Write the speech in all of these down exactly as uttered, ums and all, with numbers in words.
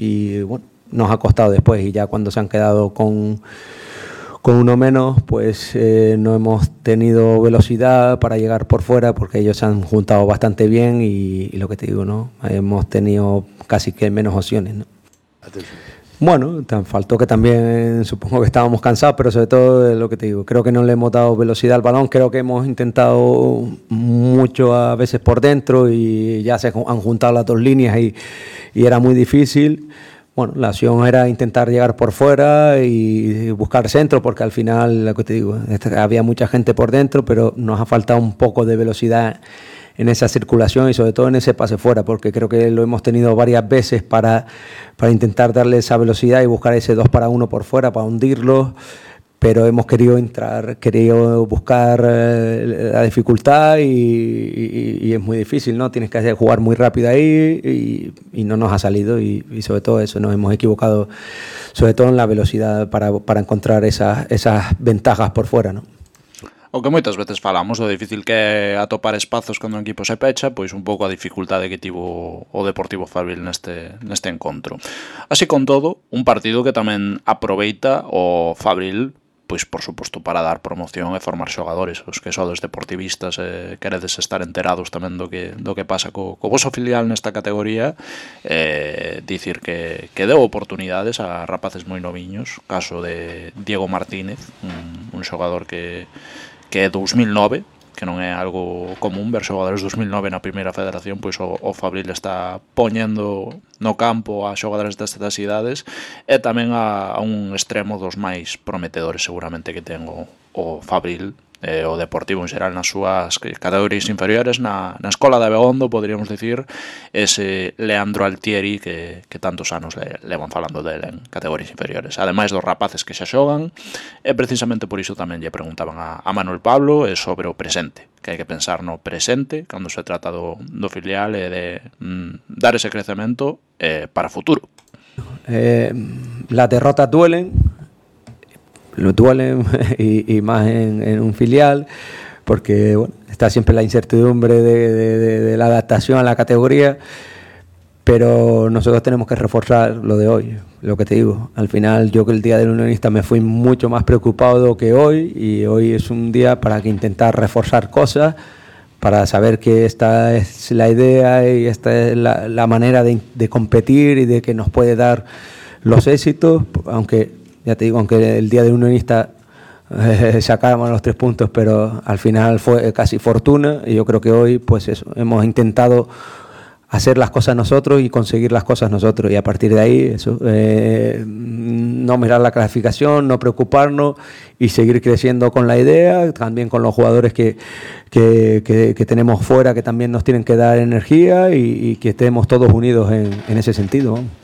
y bueno, nos ha costado después, y ya cuando se han quedado con, con uno menos, pues eh, no hemos tenido velocidad para llegar por fuera, porque ellos se han juntado bastante bien y, y lo que te digo, ¿no? Hemos tenido casi que menos opciones, ¿no? Atención. Bueno, te faltó que también, supongo que estábamos cansados, pero sobre todo lo que te digo, creo que no le hemos dado velocidad al balón, creo que hemos intentado mucho a veces por dentro y ya se han juntado las dos líneas y, y era muy difícil. Bueno, la opción era intentar llegar por fuera y buscar centro, porque al final, lo que te digo, había mucha gente por dentro, pero nos ha faltado un poco de velocidad en esa circulación y sobre todo en ese pase fuera, porque creo que lo hemos tenido varias veces para, para intentar darle esa velocidad y buscar ese dos para uno por fuera, para hundirlo, pero hemos querido entrar, querido buscar eh, la dificultad y, y, y es muy difícil, ¿no? Tienes que jugar muy rápido ahí y, y no nos ha salido y, y sobre todo eso, nos hemos equivocado, sobre todo en la velocidad para, para encontrar esas, esas ventajas por fuera, ¿no? O que moitas veces falamos, o difícil que é atopar espazos cando un equipo se pecha, pois un pouco a dificultade que tivo o Deportivo Fabril neste, neste encontro. Así con todo, un partido que tamén aproveita o Fabril, pois por suposto para dar promoción e formar xogadores, os que sodes deportivistas e eh, queredes estar enterados tamén do que, do que pasa co, co voso filial nesta categoría, eh, dicir que, que deu oportunidades a rapaces moi noviños, caso de Diego Martínez, un, un xogador que que é dous mil nove, que non é algo común ver xogadores dous mil nove na primeira federación, pois o, o Fabril está poñendo no campo a xogadores destas idades e tamén a, a un extremo dos máis prometedores seguramente que ten o, o Fabril, eh, o Deportivo en xeral nas súas categorías inferiores, na, na escola de Abegondo, poderíamos dicir, ese Leandro Altieri que, que tantos anos le, levan falando dele en categorías inferiores, ademais dos rapaces que xa xogan, e precisamente por iso tamén lle preguntaban a, a Manuel Pablo e sobre o presente, que hai que pensar no presente cando se trata do, do filial e de mm, dar ese crecemento eh, para futuro. Eh, las derrotas duelen, lo duelen y, y más en, en un filial, porque bueno, está siempre la incertidumbre de, de, de, de la adaptación a la categoría, pero nosotros tenemos que reforzar lo de hoy, lo que te digo. Al final yo que el día del unionista me fui mucho más preocupado que hoy, y hoy es un día para que intentar reforzar cosas, para saber que esta es la idea y esta es la, la manera de, de competir y de que nos puede dar los éxitos, aunque ya te digo, aunque el día del unionista eh, sacáramos los tres puntos, pero al final fue casi fortuna, y yo creo que hoy pues eso, hemos intentado hacer las cosas nosotros y conseguir las cosas nosotros, y a partir de ahí eso, eh, no mirar la clasificación, no preocuparnos y seguir creciendo con la idea, también con los jugadores que, que, que, que tenemos fuera, que también nos tienen que dar energía, y, y que estemos todos unidos en, en ese sentido, ¿no?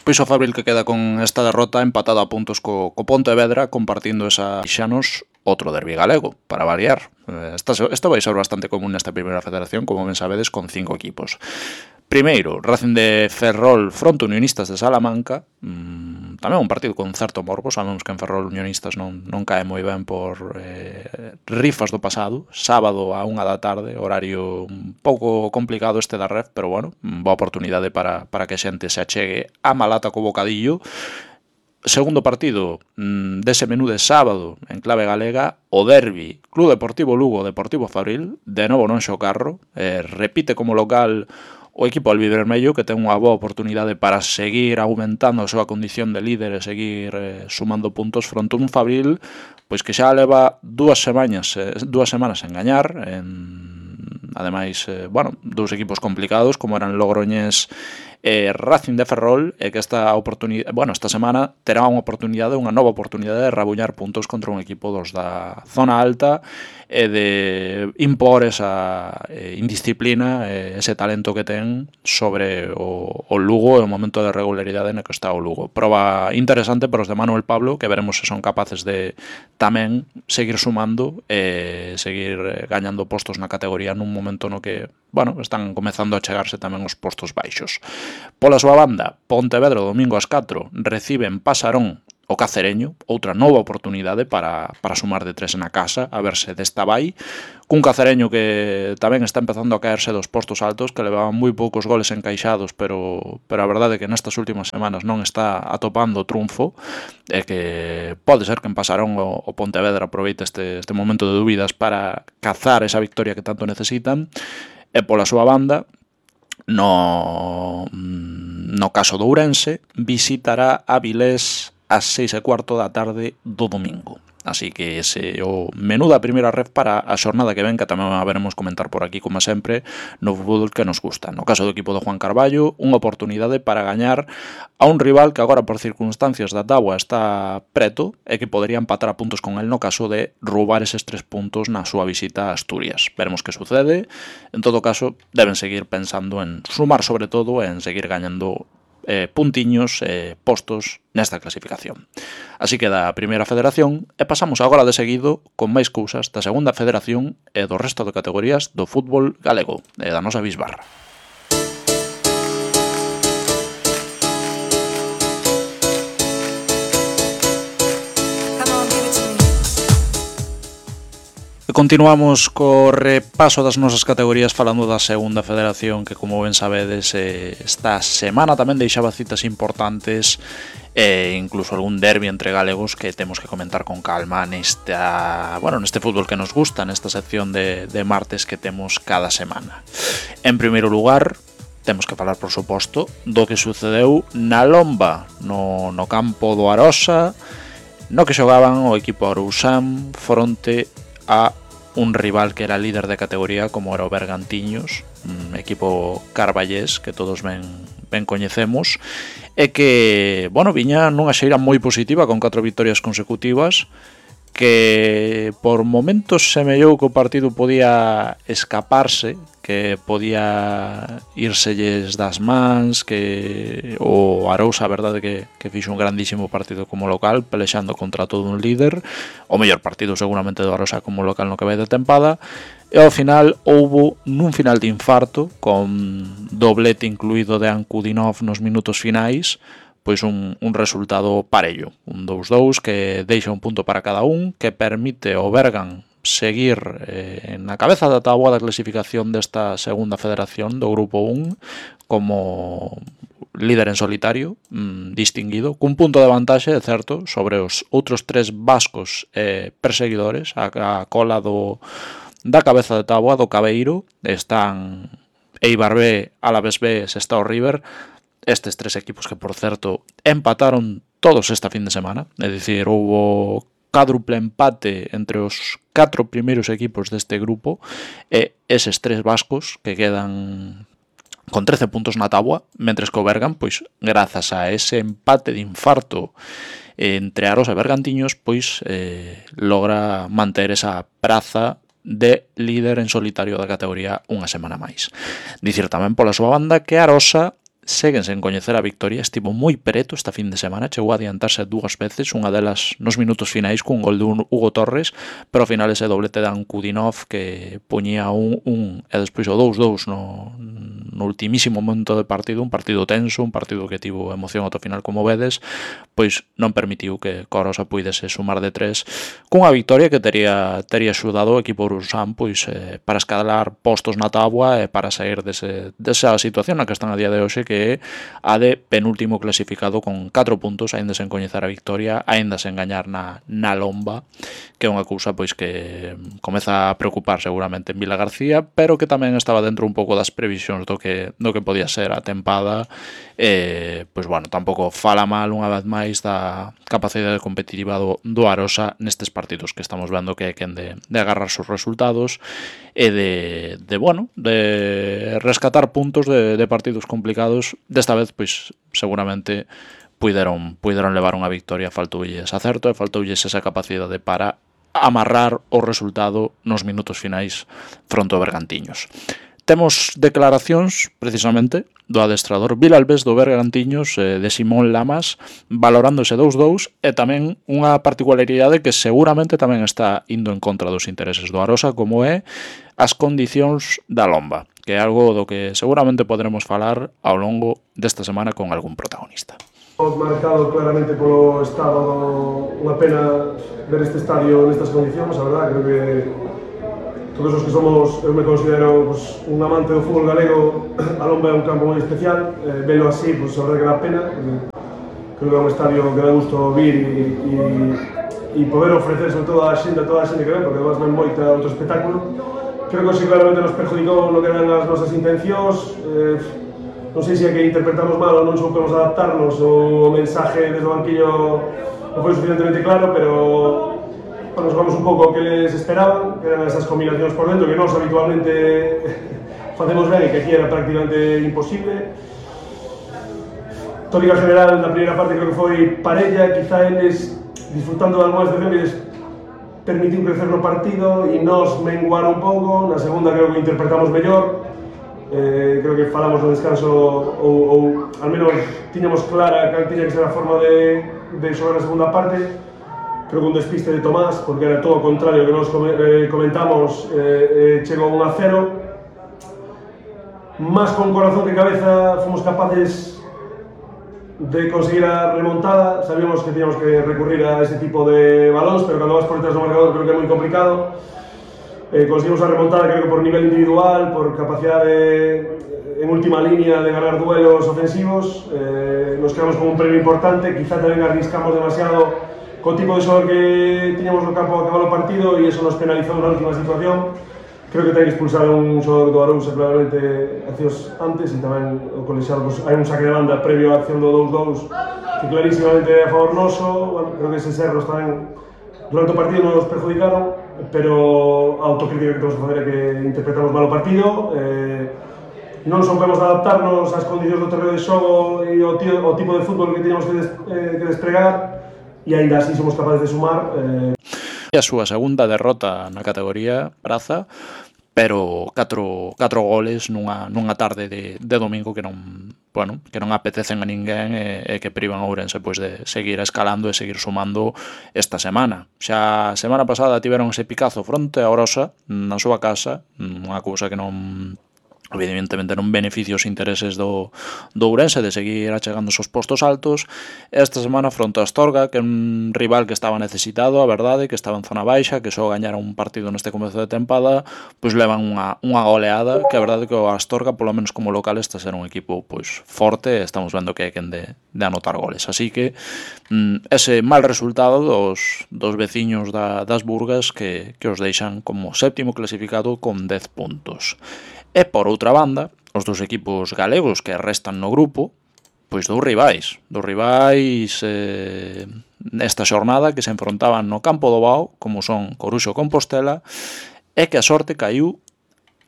Pois o Fabril que queda con esta derrota empatado a puntos co, co Pontevedra, compartindo esa xanos outro derbi galego, para variar. Esta, esta vai ser bastante común nesta primeira federación, como ben sabedes, con cinco equipos. Primeiro, Racing de Ferrol fronte Unionistas de Salamanca, mmm, tamén un partido con certo morbo, sabemos que en Ferrol Unionistas non, non cae moi ben por eh, rifas do pasado, sábado a unha da tarde, horario un pouco complicado este da Ref, pero bueno, boa oportunidade para, para que a xente se achegue a Malata co bocadillo. Segundo partido mmm, dese menú de sábado en clave galega, o derbi Club Deportivo Lugo Deportivo Fabril, de novo non Xocarro, eh, repite como local o equipo albivermello, que ten unha boa oportunidade para seguir aumentando a súa condición de líder e seguir eh, sumando puntos fronte a un Fabril pois que xa leva dúas semanas eh, dúas semanas en gañar, en, ademais, eh, bueno, dous equipos complicados como eran Logroñés e Racing de Ferrol, e que esta oportunidade, bueno, esta semana terá unha oportunidade, unha nova oportunidade de rabuñar puntos contra un equipo dos da zona alta e de impor esa eh, indisciplina, eh, ese talento que ten sobre o, o Lugo e o momento de regularidade no que está o Lugo. Proba interesante para os de Manuel Pablo, que veremos se son capaces de tamén seguir sumando e seguir eh, gañando postos na categoría nun momento no que, bueno, están comezando a chegarse tamén os postos baixos. Pola súa banda, Pontevedra domingo ás catro reciben Pasarón o Cacereño, outra nova oportunidade para, para sumar de tres na casa, a verse desta vai, cun Cacereño que tamén está empezando a caerse dos postos altos, que levaban moi poucos goles encaixados, pero, pero a verdade é que nestas últimas semanas non está atopando o triunfo, e que pode ser que en Pasarón o, o Pontevedra aproveite este, este momento de dúbidas para cazar esa victoria que tanto necesitan, e pola súa banda, no, no caso do Ourense, visitará a Vilés ás seis e cuarto da tarde do domingo. Así que ese é o menú da primeira ref para a xornada que ven, que tamén a veremos comentar por aquí, como sempre, no fútbol que nos gusta. No caso do equipo de Juan Carballo, unha oportunidade para gañar a un rival que agora por circunstancias da táboa está preto e que podería empatar a puntos con el no caso de roubar eses tres puntos na súa visita a Asturias. Veremos que sucede. En todo caso, deben seguir pensando en sumar sobre todo e en seguir gañando Eh, puntiños e eh, postos nesta clasificación. Así que da primeira federación e pasamos agora de seguido con máis cousas da segunda federación e do resto de categorías do fútbol galego e da nosa bisbarra. Continuamos co repaso das nosas categorías falando da segunda federación, que como ben sabedes esta semana tamén deixaba citas importantes e incluso algún derbi entre galegos que temos que comentar con calma nesta, bueno, neste fútbol que nos gusta, nesta sección de, de martes que temos cada semana. En primeiro lugar, temos que falar, por suposto, do que sucedeu na Lomba, no, no campo do Arosa, no que xogaban o equipo Arousán fronte a un rival que era líder de categoría como era o Bergantiños, un equipo carballés que todos ben, ben coñecemos, e que, bueno, viña nunha xeira moi positiva con catro vitorias consecutivas, que por momentos semellou que o partido podía escaparse, que podía írselles das mans, que o Arousa, a verdade que, que fixo un grandísimo partido como local, pelexando contra todo un líder, o mellor partido seguramente do Arousa como local no que vai de tempada, e ao final houbo nun final de infarto, con doblete incluído de Ankudinov nos minutos finais, pois un, un resultado parello, un dous dous que deixa un punto para cada un, que permite ao Bergan seguir eh, na cabeza da táboa da clasificación desta segunda federación do grupo un como líder en solitario, mmm, distinguido, cun punto de vantaxe, é certo, sobre os outros tres vascos eh, perseguidores, a, a cola do, da cabeza de táboa do Cabeiro, están Eibar B, Alavés B, Sestao River, estes tres equipos que, por certo, empataron todos esta fin de semana, é dicir, houbo cadruple empate entre os catro primeiros equipos deste grupo e eses tres vascos que quedan con trece puntos na táboa, mentres que o Bergan, pois, grazas a ese empate de infarto entre Arosa e Bergantiños, pois, eh, logra manter esa praza de líder en solitario da categoría unha semana máis. Dicir tamén pola súa banda que Arosa seguen sen coñecer a victoria, estivo moi preto esta fin de semana, chegou a adiantarse dúas veces, unha delas nos minutos finais cun gol de Hugo Torres, pero ao final ese doblete de Ankudinov que poñía un, un e despois o dous dous no, no ultimísimo momento de partido, un partido tenso, un partido que tivo emoción ata o final como vedes, pois non permitiu que Corosa puidese sumar de tres cunha victoria que tería tería axudado o equipo Urusán pois eh, para escalar postos na táboa e para sair dese, desa situación na que están a día de hoxe, que é a de penúltimo clasificado con catro puntos, aínda sen coñecer a victoria, aínda sen gañar na, na Lomba, que é unha cousa pois que comeza a preocupar seguramente en Vila García, pero que tamén estaba dentro un pouco das previsións do que, do que podía ser a tempada. E, pois bueno, tampouco fala mal unha vez máis da capacidade competitiva do, do Arosa nestes partidos que estamos vendo que é quen de, de agarrar sus resultados e de, de bueno, de rescatar puntos de, de partidos complicados. Desta vez, pois, seguramente puideron, puideron levar unha victoria, faltoulles acerto e faltoulles esa capacidade para amarrar o resultado nos minutos finais fronte ao Bergantiños. Temos declaracións, precisamente, do adestrador Vilalbés do Bergantiños, de Simón Lamas, valorando ese dous dous, e tamén unha particularidade que seguramente tamén está indo en contra dos intereses do Arosa, como é as condicións da Lomba, que é algo do que seguramente podremos falar ao longo desta semana con algún protagonista. Os afectado claramente polo estado, unha pena ver este estadio nestas condicións, a verdad, creo que todos os que somos, eu me considero pues, un amante do fútbol galego, a Lomba é un campo moi especial, eh, velo así, pues, a verdad que dá pena, creo que é un estadio que dá gusto vir e, e, e poder ofrecer sobre todo a xente, a toda a xente que ven, porque además ven moita outro espectáculo. Creo que eso claramente nos perjudicou no que eran as nosas intencións, eh, non sei se é que interpretamos mal ou non soupemos adaptarnos ou o mensaje desde o banquillo non foi suficientemente claro, pero bueno, nos vamos un pouco o que les esperaban, que eran esas combinacións por dentro que nós habitualmente facemos ben e que aquí era prácticamente imposible. Tónica general na primeira parte creo que foi parella, quizá eles disfrutando de algunhas excepciones permitiu crecer no partido e nos menguar un pouco. Na segunda creo que interpretamos mellor, eh, creo que falamos no descanso ou, ou al menos tiñamos clara cal tiña que ser a forma de, de xogar na segunda parte. Creo que un despiste de Tomás, porque era todo o contrario que nos comentamos, eh, eh, chegou un a cero. Más con corazón que cabeza fomos capaces de conseguir a remontada. Sabíamos que teníamos que recurrir a ese tipo de balóns, pero cando vas por detrás do marcador creo que é moi complicado. Eh, conseguimos a remontada creo que por nivel individual, por capacidade de, en última línea de ganar duelos ofensivos. Eh, nos quedamos con un premio importante, quizá tamén arriscamos demasiado co tipo de xogador que tiñamos no campo a acabar o partido e eso nos penalizou na última situación. Creo que ten que expulsar a un xogador do Arousa claramente accións antes e tamén o colexiado, pues, hai un saque de banda previo á acción do dous dous que clarísimamente é a favor noso. Bueno, creo que eses erros tamén durante o partido nos perjudicaron, pero a autocrítica que temos que fazer é que interpretamos mal o partido, eh, non soubemos adaptarnos ás condicións do terreo de xogo e ao, tío, ao tipo de fútbol que teníamos que, des, eh, que despregar e ainda así somos capaces de sumar. Eh, a súa segunda derrota na categoría praza, pero catro, catro goles nunha, nunha tarde de, de domingo que non, bueno, que non apetecen a ninguén e, e que privan a Ourense pois, de seguir escalando e seguir sumando esta semana. Xa a semana pasada tiveron ese picazo fronte a Orosa na súa casa, unha cousa que non evidentemente non beneficia os intereses do, do Ourense de seguir achegando os postos altos. Esta semana fronte a Astorga, que é un rival que estaba necesitado, a verdade, que estaba en zona baixa, que só gañara un partido neste comezo de tempada, pois levan unha, unha goleada, que a verdade que o Astorga, polo menos como local, está a ser un equipo pois forte, estamos vendo que hai quen de, de anotar goles. Así que mm, ese mal resultado dos, dos veciños da, das Burgas que, que os deixan como séptimo clasificado con dez puntos. E por outra banda, os dos equipos galegos que restan no grupo, pois dous rivais, dous rivais eh, nesta xornada que se enfrontaban no campo do Bao, como son Coruxo e Compostela, e que a sorte caiu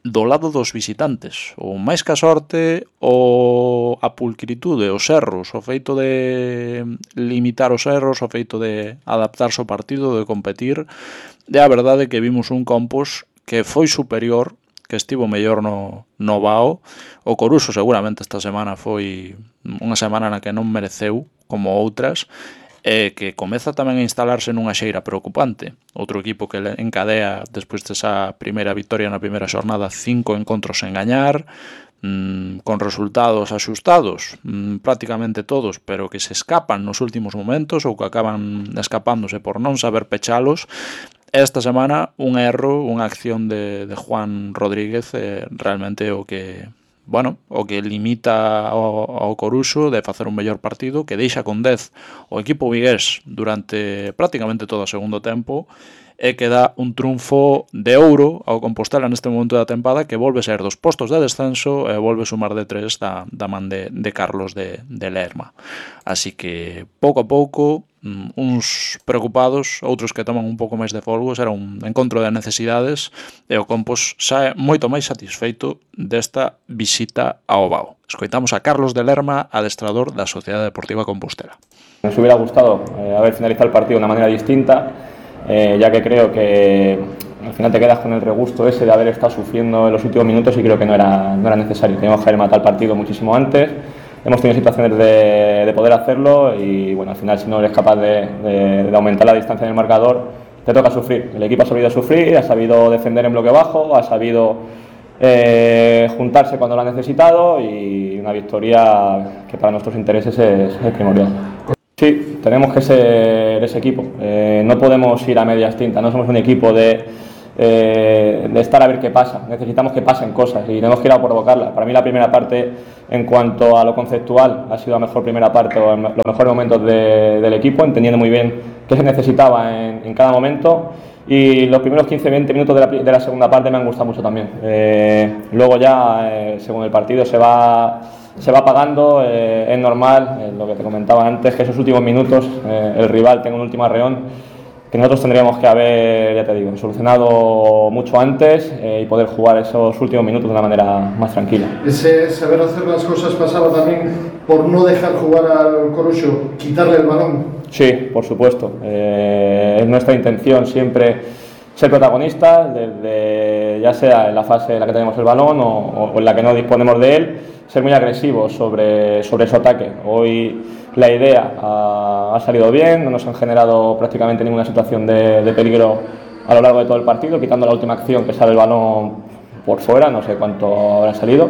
do lado dos visitantes, ou máis que a sorte, o a pulcritude, os erros, o feito de limitar os erros, o feito de adaptarse ao partido, de competir, e a verdade que vimos un Compos que foi superior, que estivo mellor no, no Bao. O Coruxo seguramente esta semana foi unha semana na que non mereceu como outras, e que comeza tamén a instalarse nunha xeira preocupante. Outro equipo que encadea, despois desa primeira victoria na primeira xornada, cinco encontros sen gañar, mmm, con resultados axustados, mmm, prácticamente todos, pero que se escapan nos últimos momentos ou que acaban escapándose por non saber pechalos. Esta semana un erro, unha acción de, de Juan Rodríguez eh, realmente o que, bueno, o que limita ao, ao Coruxo de facer un mellor partido, que deixa con dez o equipo vigués durante prácticamente todo o segundo tempo, e que dá un triunfo de ouro ao Compostela neste momento da tempada, que volve ser dos postos de descenso e volve sumar de tres da, da man de, de Carlos de, de Lerma. Así que pouco a pouco, uns preocupados, outros que toman un pouco máis de folgo. Será un encontro de necesidades e o Compos xa é moito máis satisfeito desta visita ao Bao. Escoitamos a Carlos de Lerma, adestrador da Sociedade Deportiva Compostela. Nos hubiera gustado eh, haber finalizado el partido de una manera distinta, eh, ya que creo que al final te quedas con el regusto ese de haber estado sufriendo en los últimos minutos y creo que no era, no era necesario. Teníamos que haber matado el partido muchísimo antes. Hemos tenido situaciones de, de poder hacerlo y bueno, al final si no eres capaz de, de, de aumentar la distancia en el marcador, te toca sufrir. El equipo ha sabido sufrir, ha sabido defender en bloque bajo, ha sabido eh, juntarse cuando lo ha necesitado y una victoria que para nuestros intereses es, es primordial. Sí, tenemos que ser ese equipo. Eh, no podemos ir a medias tintas, no somos un equipo de, eh, de estar a ver qué pasa. Necesitamos que pasen cosas y tenemos que ir a provocarlas. Para mí la primera parte, en cuanto a lo conceptual, ha sido la mejor primera parte o los mejores momentos de, del equipo, entendiendo muy bien qué se necesitaba en, en cada momento. Y los primeros quince a veinte minutos de la, de la segunda parte me han gustado mucho también. Eh, luego ya, eh, según el partido, se va... se va apagando, eh, es normal, eh, lo que te comentaba antes, que esos últimos minutos eh, el rival tenga un último arreón que nosotros tendríamos que haber, ya te digo, solucionado mucho antes eh, y poder jugar esos últimos minutos de una manera más tranquila. Ese saber hacer las cosas pasaba también por no dejar jugar al Coruxo, quitarle el balón. Sí, por supuesto, eh, es nuestra intención siempre ser protagonistas, desde, ya sea en la fase en la que tenemos el balón o, o en la que no disponemos de él, ser muy agresivos sobre, sobre su ataque. Hoy la idea ha, ha salido bien, no nos han generado prácticamente ninguna situación de, de peligro a lo largo de todo el partido, quitando la última acción que sale el balón por fuera, no sé cuánto habrá salido,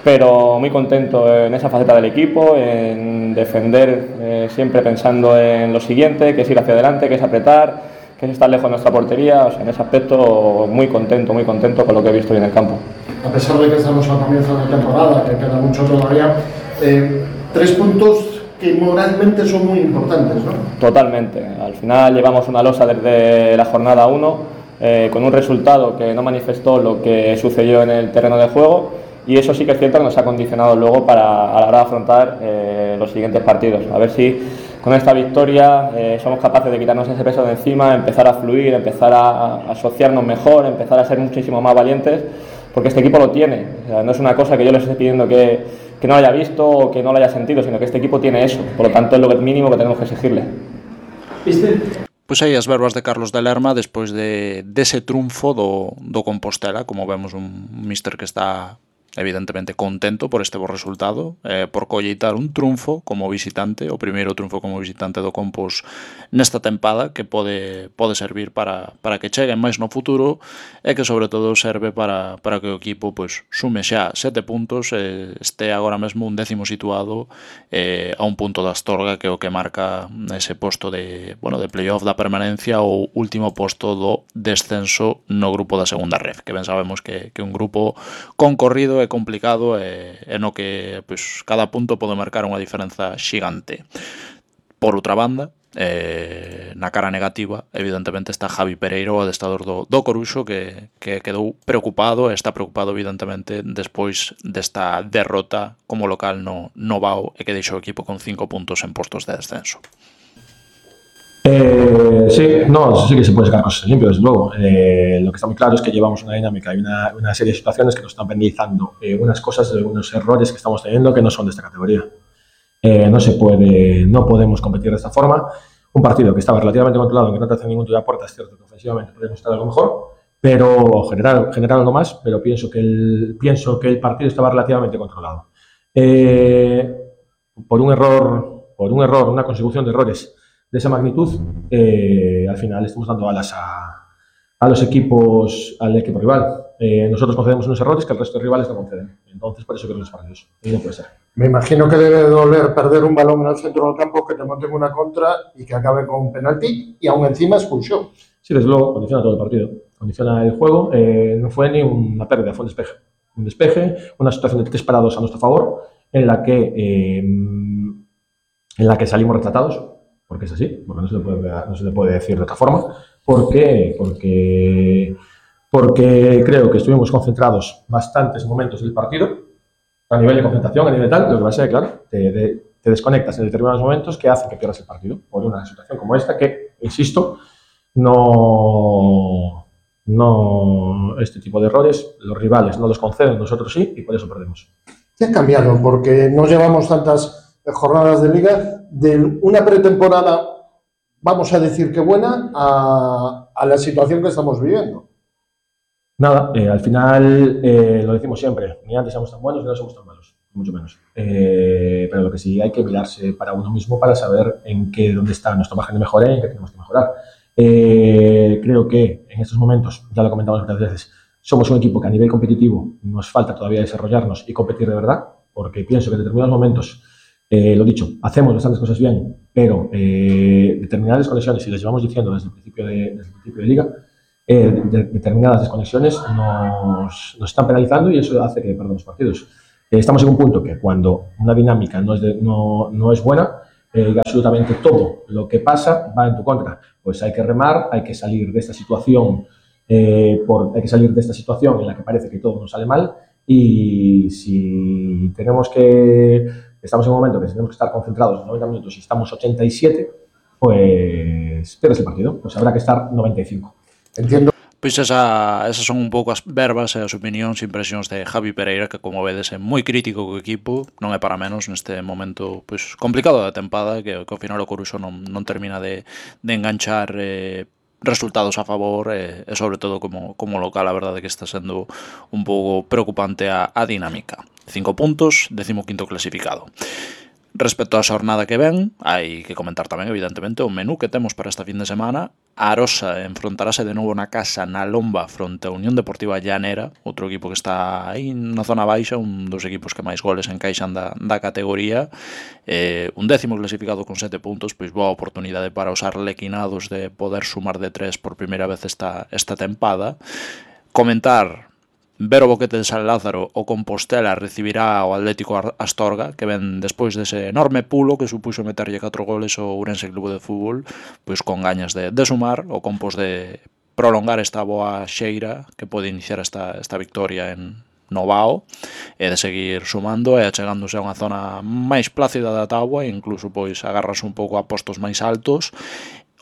pero muy contento en esa faceta del equipo, en defender eh, siempre pensando en lo siguiente, que es ir hacia adelante, que es apretar, que es estar lejos de nuestra portería. O sea, en ese aspecto muy contento, muy contento con lo que he visto hoy en el campo. A pesar de que estamos a comienzo de temporada, que queda mucho todavía, eh, tres puntos que moralmente son muy importantes, ¿no? Totalmente. Al final llevamos una losa desde la jornada uno, eh, con un resultado que no manifestó lo que sucedió en el terreno de juego, y eso sí que es cierto que nos ha condicionado luego para a la hora de afrontar eh, los siguientes partidos. A ver si con esta victoria eh, somos capaces de quitarnos ese peso de encima, empezar a fluir, empezar a, a asociarnos mejor, empezar a ser muchísimo más valientes, porque este equipo lo tiene. O sea, no es una cosa que yo les esté pidiendo que, que no lo haya visto o que no lo haya sentido, sino que este equipo tiene eso. Por lo tanto, es lo mínimo que tenemos que exigirle. ¿Viste? Pois aí as verbas de Carlos de Lerma despois de dese triunfo do, do Compostela, como vemos un míster que está evidentemente contento por este bo resultado, eh, por colleitar un triunfo como visitante, o primeiro triunfo como visitante do Compos nesta tempada, que pode pode servir para, para que cheguen máis no futuro e que sobre todo serve para, para que o equipo pois, sume xa sete puntos e este agora mesmo un décimo situado eh, a un punto da Astorga, que é o que marca ese posto de, bueno, de playoff da permanencia ou último posto do descenso no grupo da segunda red, que ben sabemos que, que un grupo concorrido é complicado e, e no que pois, cada punto pode marcar unha diferenza xigante. Por outra banda, eh, na cara negativa, evidentemente está Javi Pereira, o adestrador do, do Coruxo, que, que quedou preocupado, e está preocupado evidentemente despois desta derrota como local no, no Vao, e que deixou o equipo con cinco puntos en postos de descenso. Eh, sí, no, sí que se puede sacar cosas limpias, desde luego. Eh, lo que está muy claro es que llevamos una dinámica y una, una serie de situaciones que nos están penalizando eh, unas cosas, unos errores que estamos teniendo que no son de esta categoría. Eh, no se puede, no podemos competir de esta forma. Un partido que estaba relativamente controlado, que no te hace ningún tiro de puerta, es cierto que ofensivamente podemos estar algo mejor, pero generar, generar algo más, pero pienso que el, pienso que el partido estaba relativamente controlado. Eh, por un error, por un error, una consecución de errores de esa magnitud, eh, al final estamos dando alas a, a los equipos, al equipo rival. Eh, nosotros concedemos unos errores que el resto de rivales no conceden. Entonces, por eso creo que es partidos. Y no puede ser. Me imagino que debe doler perder un balón en el centro del campo, que te monten una contra y que acabe con un penalti y aún encima expulsión. Sí, desde luego, condiciona todo el partido. Condiciona el juego. Eh, no fue ni una pérdida, fue un despeje. Un despeje, una situación de tres parados a nuestro favor, en la que, eh, en la que salimos retratados. Porque es así, porque no se le puede, no se le puede decir de otra forma. ¿Por qué? Porque, porque creo que estuvimos concentrados bastantes momentos del partido, a nivel de concentración, a nivel tal, lo que pasa es que, claro, te, te, te desconectas en determinados momentos que hacen que pierdas el partido por una situación como esta que, insisto, no, no este tipo de errores, los rivales no los conceden, nosotros sí, y por eso perdemos. ¿Qué ha cambiado? Porque no llevamos tantas jornadas de liga, de una pretemporada, vamos a decir que buena, a, a la situación que estamos viviendo. Nada, eh, al final eh, lo decimos siempre, ni antes somos tan buenos ni ahora somos tan malos, mucho menos. Eh, pero lo que sí hay que mirarse para uno mismo para saber en qué, dónde está nuestro margen de mejora y en qué tenemos que mejorar. Eh, creo que en estos momentos, ya lo comentamos muchas veces, somos un equipo que a nivel competitivo nos falta todavía desarrollarnos y competir de verdad, porque pienso que en determinados momentos, Eh, lo dicho, hacemos bastantes cosas bien, pero eh, determinadas desconexiones, y les llevamos diciendo desde el principio de, desde el principio de liga, eh, de, determinadas desconexiones nos, nos están penalizando y eso hace que perdamos partidos. Eh, estamos en un punto que cuando una dinámica no es, de, no, no es buena, eh, absolutamente todo lo que pasa va en tu contra. Pues hay que remar, hay que salir de esta situación, eh, por, hay que salir de esta situación en la que parece que todo nos sale mal, y si tenemos que, estamos en un momento que tenemos que estar concentrados en noventa minutos y estamos ochenta y siete, pues pierdes el partido, pues habrá que estar noventa y cinco. Entiendo. Pois esa, esas son un pouco as verbas e as opinións e impresións de Javi Pereira, que como vedes é moi crítico co equipo, non é para menos neste momento pois complicado da tempada, que, que ao final o Coruxo non, non termina de, de enganchar eh, resultados a favor e, e sobre todo como, como local, a verdade que está sendo un pouco preocupante a, a dinámica. Cinco puntos, décimo quinto clasificado. Respecto á xornada que ven, hai que comentar tamén, evidentemente, o menú que temos para esta fin de semana. A Arosa enfrontarase de novo na casa na Lomba fronte a Unión Deportiva Llanera, outro equipo que está aí na zona baixa, un dos equipos que máis goles encaixan da, da categoría. Eh, un décimo clasificado con sete puntos, pois boa oportunidade para os arlequinados de poder sumar de tres por primeira vez esta, esta tempada. Comentar... Ver o Boquete de San Lázaro, o Compostela recibirá o Atlético Astorga, que ven despois dese enorme pulo que supuxo meterlle catro goles ao Ourense Clube de Fútbol, pois con gañas de, de sumar, o Compos de prolongar esta boa xeira que pode iniciar esta, esta victoria en Novao, e de seguir sumando e achegándose a unha zona máis plácida da táboa, e incluso pois agarrarse un pouco a postos máis altos.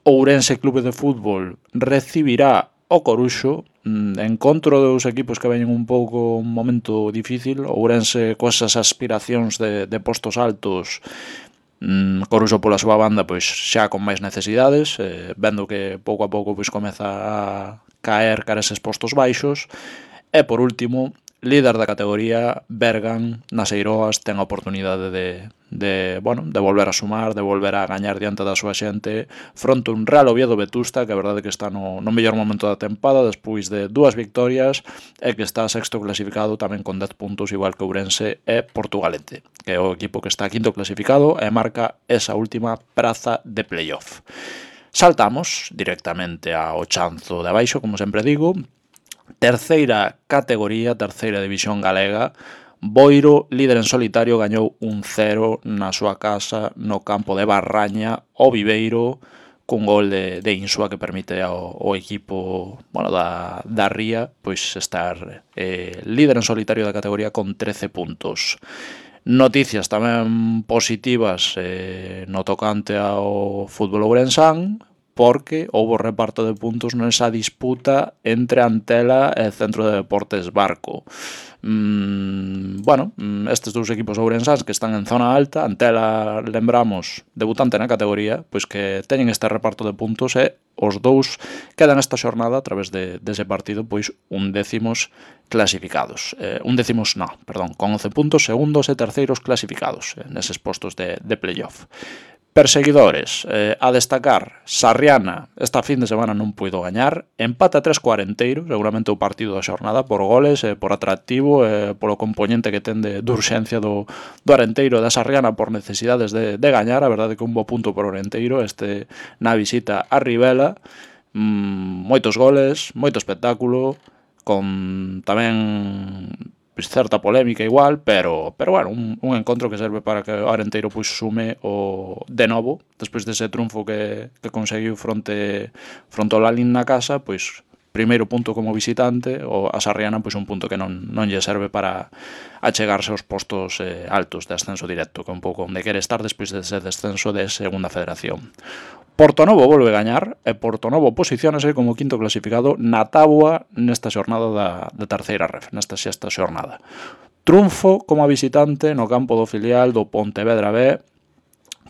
O Ourense Clube de Fútbol recibirá o Coruxo, encontro dos equipos que veñen un pouco un momento difícil. O Ourense coas aspiracións de, de postos altos, mm, Coruxo pola súa banda pois xa con máis necesidades, eh, vendo que pouco a pouco pois comeza a caer cara eses postos baixos. E por último, líder da categoría, Bergan, nas Eiroas, ten a oportunidade de, de, bueno, de volver a sumar, de volver a gañar diante da súa xente fronte un Real Oviedo Vetusta, que a verdade que está no, no mellor momento da tempada despois de dúas victorias, e que está sexto clasificado tamén con dez puntos, igual que Ourense e Portugalete, que é o equipo que está quinto clasificado e marca esa última praza de playoff. Saltamos directamente ao chanzo de abaixo, como sempre digo. Terceira categoría, terceira división galega. Boiro, líder en solitario, gañou un cero na súa casa no campo de Barraña o Viveiro, cun gol de, de Insua que permite ao, ao equipo, bueno, da, da Ría pois estar eh, líder en solitario da categoría con trece puntos. Noticias tamén positivas eh, no tocante ao fútbol ourensán, porque houbo reparto de puntos nesa disputa entre Antela e Centro de Deportes Barco. Mm, bueno, estes dous equipos ourensáns que están en zona alta, Antela, lembramos, debutante na categoría, pois que teñen este reparto de puntos e os dous quedan esta xornada a través de, dese partido pois un décimos clasificados. Eh, un décimos, no, perdón, con once puntos, segundos e terceiros clasificados eh, neses postos de, de playoff. Perseguidores, eh, a destacar, Sarriana esta fin de semana non puido gañar, empate a tres co Arenteiro, seguramente o partido da xornada por goles, eh, por atractivo, eh, polo componente que ten de, de urxencia do, do Arenteiro e da Sarriana por necesidades de, de gañar. A verdade que un bo punto por Arenteiro este na visita a Rivela, mm, moitos goles, moito espectáculo, con tamén pois certa polémica igual, pero pero bueno, un, un encontro que serve para que o Arenteiro pois sume o de novo, despois dese triunfo que, que conseguiu fronte fronte ao Lalín na casa, pois primeiro punto como visitante, o a Sarriana pois un punto que non, non lle serve para achegarse aos postos eh, altos de ascenso directo, que é un pouco onde quere estar despois dese descenso de segunda federación. Portonovo volve a gañar e Portonovo posiciónase como quinto clasificado na táboa nesta xornada da, da terceira ref, nesta sexta xornada. Triunfo como visitante no campo do filial do Pontevedra B,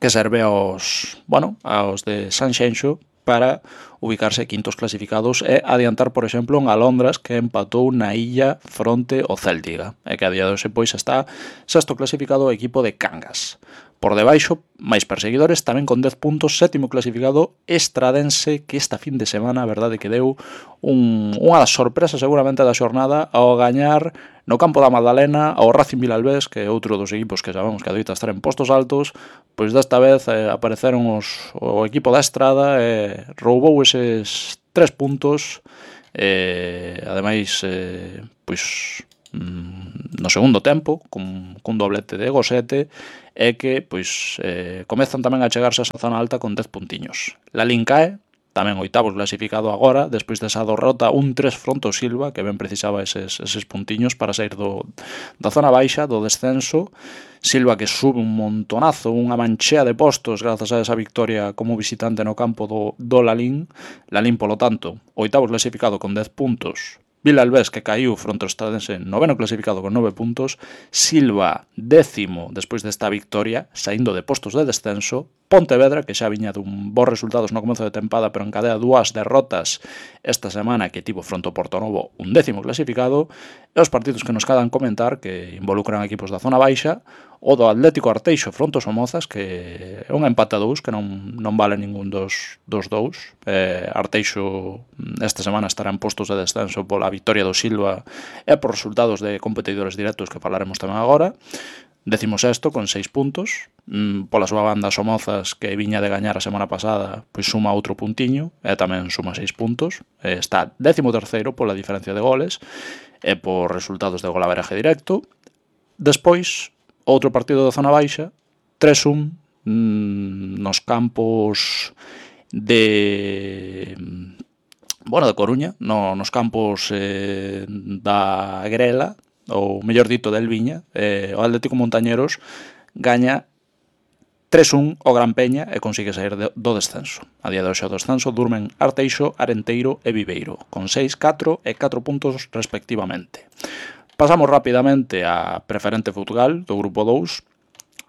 que serve aos, bueno, aos de Sanxenxo para ubicarse quintos clasificados e adiantar, por exemplo, en Alondras, que empatou na illa fronte ao Céltiga, e que a día de hoxe pois está sexto clasificado o equipo de Cangas. Por debaixo, máis perseguidores, tamén con dez puntos, sétimo clasificado Estradense, que esta fin de semana, a verdade, que deu un, unha das sorpresas seguramente da xornada ao gañar no campo da Magdalena ao Racing Vilalbés, que é outro dos equipos que sabemos que adoita estar en postos altos. Pois desta vez eh, apareceron os, o equipo da Estrada e eh, roubou eses tres puntos, eh, ademais eh, pois no segundo tempo, cun, cun doblete de Gosete, é que pois eh, comezan tamén a chegarse a esa zona alta con dez puntiños. Lalín cae, tamén oitavo clasificado agora, despois desa derrota un tres fronte ao Silva, que ben precisaba eses, eses puntiños para sair do, da zona baixa, do descenso. Silva que sube un montonazo, unha manchea de postos grazas a esa victoria como visitante no campo do, do Lalín. Lalín, polo tanto, oitavo clasificado con dez puntos. Vilalbés, que caiu fronte ao Estradense, noveno clasificado con nove puntos. Silva, décimo, despois desta victoria, saindo de postos de descenso. Pontevedra, que xa viña dun bons resultados no comezo de tempada, pero encadea dúas derrotas esta semana, que tivo fronte ao Portonovo, un décimo clasificado. E os partidos que nos quedan comentar, que involucran equipos da zona baixa, o do Atlético Arteixo fronte aos Somozas, que é un empate a dous, que non, non vale ningún dos, dos dous. Eh, Arteixo esta semana estará en postos de descenso pola victoria do Silva e por resultados de competidores directos que falaremos tamén agora. Décimo sexto con seis puntos. Pola súa banda Somozas, que viña de gañar a semana pasada, pois suma outro puntiño e tamén suma seis puntos. Está décimo terceiro pola diferencia de goles e por resultados de golaveraje directo. Despois, outro partido da zona baixa, tres un nos campos de bueno, de Coruña, no, nos campos eh, da Grela, ou mellor dito del Viña. eh, o Atlético Montañeros gaña tres un o Gran Peña e consigue sair de, do descenso. A día de hoxe o descenso durmen Arteixo, Arenteiro e Viveiro, con seis, catro e catro puntos respectivamente. Pasamos rapidamente a preferente Futgal do grupo dous.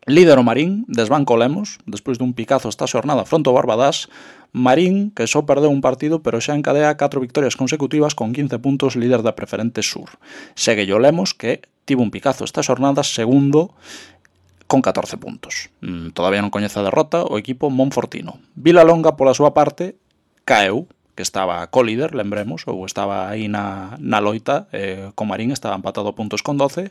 Líder o Marín, desbanco Lemos, despois dun picazo esta xornada fronte ao Barbadás. Marín, que só perdeu un partido, pero xa encadea catro victorias consecutivas con quince puntos, líder da preferente sur. Segue o Lemos, que tivo un picazo esta xornada, segundo, con catorce puntos. Mm, todavía non coñece a derrota o equipo monfortino. Vilalonga, pola súa parte, caeu, que estaba co-líder, lembremos, ou estaba aí na, na loita, eh, co Marín, estaba empatado a puntos con doce,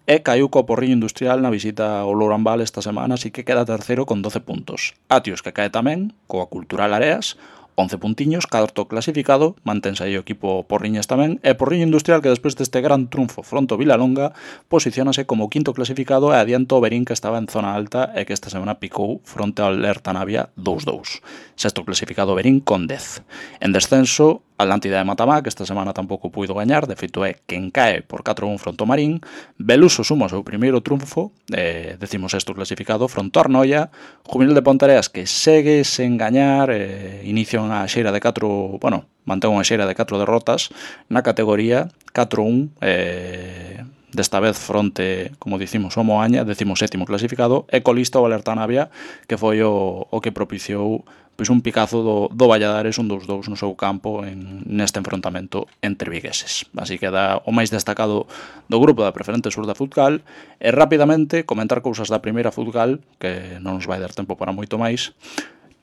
e caiu co Porriño Industrial na visita ao Lourambal esta semana, así que queda terceiro con doce puntos. Atios, que cae tamén, coa Cultural Areas, once puntiños, cuarto clasificado, mantense aí o equipo Porriñas tamén, e Porriño Industrial, que despois deste gran triunfo fronte ao Vilalonga, posiciónase como quinto clasificado e adianta o Berín, que estaba en zona alta e que esta semana picou fronte ao Lerta Navia dous dous. Sexto clasificado Berín con dez. En descenso, Atlántida de Matamá, que esta semana tampouco puido gañar, de feito é quen cae por catro un fronte ao Marín. Beluso suma o seu primeiro triunfo, eh, decimos sexto clasificado fronte ao Arnoia. Juvenil de Ponteareas, que segue sen gañar, eh, inicia unha xeira de catro, bueno, mantén unha xeira de catro derrotas na categoría, catro un, eh, desta vez fronte, como dicimos, o Moaña, decimos sétimo clasificado, e colista o Alerta Navia, que foi o, o que propiciou pois un picazo do, do Valladares, un dous dous no seu campo en, neste enfrontamento entre vigueses. Así que dá o máis destacado do grupo da preferente sur da Futgal. E rapidamente comentar cousas da primeira Futgal, que non nos vai dar tempo para moito máis.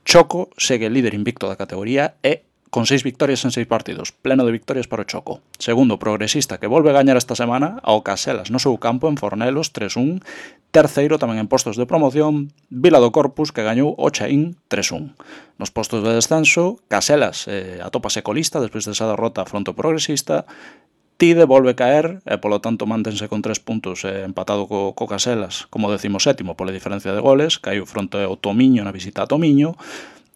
Choco segue líder invicto da categoría e con seis victorias en seis partidos, pleno de victorias para o Choco. Segundo, Progresista, que volve a gañar esta semana ao Caselas no seu campo en Fornelos, tres un. Terceiro, tamén en postos de promoción, Vila do Corpus, que gañou o Chaín tres un. Nos postos de descenso, Caselas eh, atópase colista despois desa derrota fronte ao Progresista. Tide volve caer e, polo tanto, mantense con tres puntos eh, empatado co, co Caselas, como decimos sétimo, pola diferencia de goles, caiu fronte ao Tomiño na visita a Tomiño.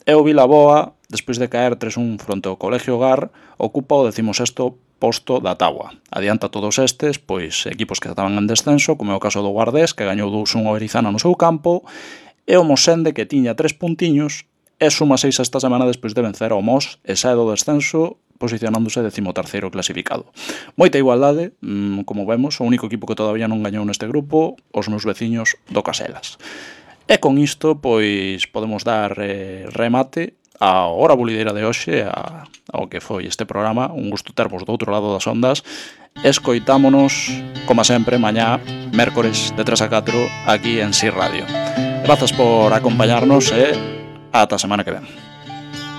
E o Vilaboa, despois de caer tres un fronte ao Colegio Gar, ocupa o decimosexto posto da táboa. Adianta todos estes, pois equipos que estaban en descenso, como é o caso do Guardés, que gañou dous un ao Erizana no seu campo, e o Mosende, que tiña tres puntiños, e suma seis esta semana despois de vencer ao Mos e sae do descenso, posicionándose decimoterceiro clasificado. Moita igualdade, como vemos, o único equipo que todavía non gañou neste grupo, os meus veciños do Caselas. E con isto, pois, podemos dar eh, remate a hora bulideira de hoxe, a, ao que foi este programa. Un gusto termos do outro lado das ondas. Escoitámonos, como sempre, mañá, mércores, de tres a catro, aquí en Si Radio. Grazas por acompañarnos e ata a semana que ven.